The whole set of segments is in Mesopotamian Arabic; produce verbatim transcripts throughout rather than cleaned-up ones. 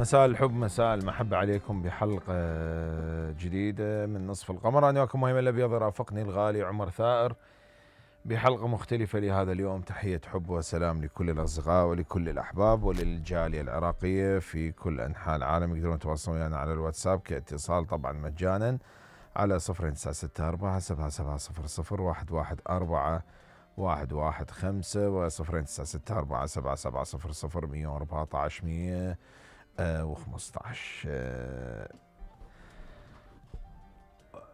مساء الحب مساء المحبة عليكم بحلقة جديدة من نصف القمر. أنا وياكم مهيمن الأبيض، رافقني الغالي عمر ثائر بحلقة مختلفة لهذا اليوم. تحية حب وسلام لكل الأصدقاء ولكل الأحباب وللجالية العراقية في كل أنحاء العالم. يقدرون يتواصلون ويانا على الواتساب كاتصال طبعا مجانا على صفر تسعة ستة أربعة سبعة سبعة صفر صفر واحد واحد أربعة واحد واحد خمسة وصفر تسعة ستة أربعة سبعة سبعة صفر صفر مية وأربعة عشر مية وخمسة عشر.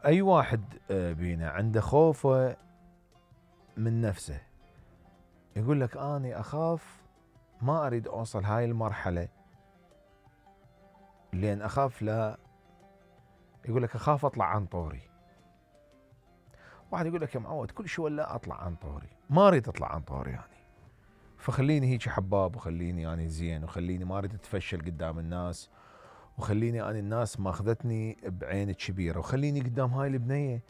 أي واحد بينا عنده خوفه من نفسه، يقول لك أنا أخاف ما أريد أوصل هاي المرحلة لأن أخاف لا، يقول لك أخاف أطلع عن طوري. واحد يقول لك يا معود كل شيء ولا أطلع عن طوري، ما أريد أطلع عن طوري يعني، فخليني هيك حباب وخليني يعني زين وخليني ما أريد أتفشل قدام الناس وخليني أنا الناس ماخذتني بعين كبيرة وخليني قدام هاي البنية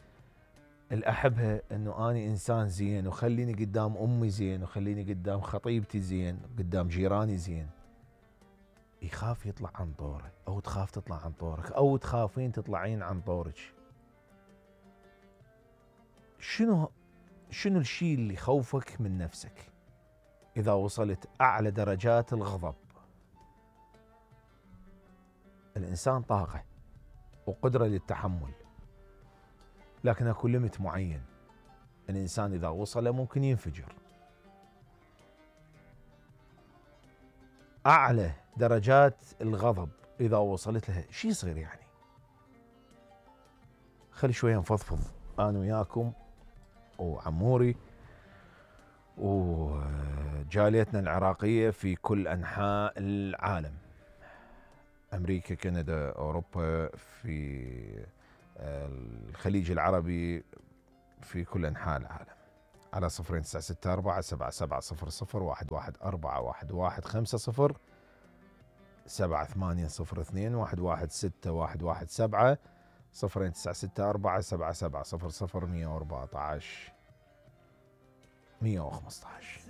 اللي أحبها أنه أنا إنسان زين وخليني قدام أمي زين وخليني قدام خطيبتي زين قدام جيراني زين. يخاف يطلع عن طوره أو تخاف تطلع عن طورك أو تخافين تطلعين عن طورك. شنو شنو الشيء اللي يخوفك من نفسك؟ إذا وصلت أعلى درجات الغضب، الإنسان طاقة وقدرة للتحمل، لكن اكو ليميت معين. الإنسان إذا وصله ممكن ينفجر. أعلى درجات الغضب إذا وصلت لها شيء صغير يعني. خلي شوية نفضفض أنا وياكم وعموري وجاليتنا العراقية في كل أنحاء العالم، أمريكا، كندا، أوروبا، في الخليج العربي، في كل أنحاء العالم، على صفرين تسعة ستة أربعة سبعة سبعة صفر صفر واحد واحد أربعة واحد واحد خمسة صفر سبعة ثمانية صفر اثنين واحد واحد ستة واحد واحد سبعة صفرين تسعة ستة أربعة سبعة سبعة صفر صفر مية وأربعة عشر مية وخمسة عشر.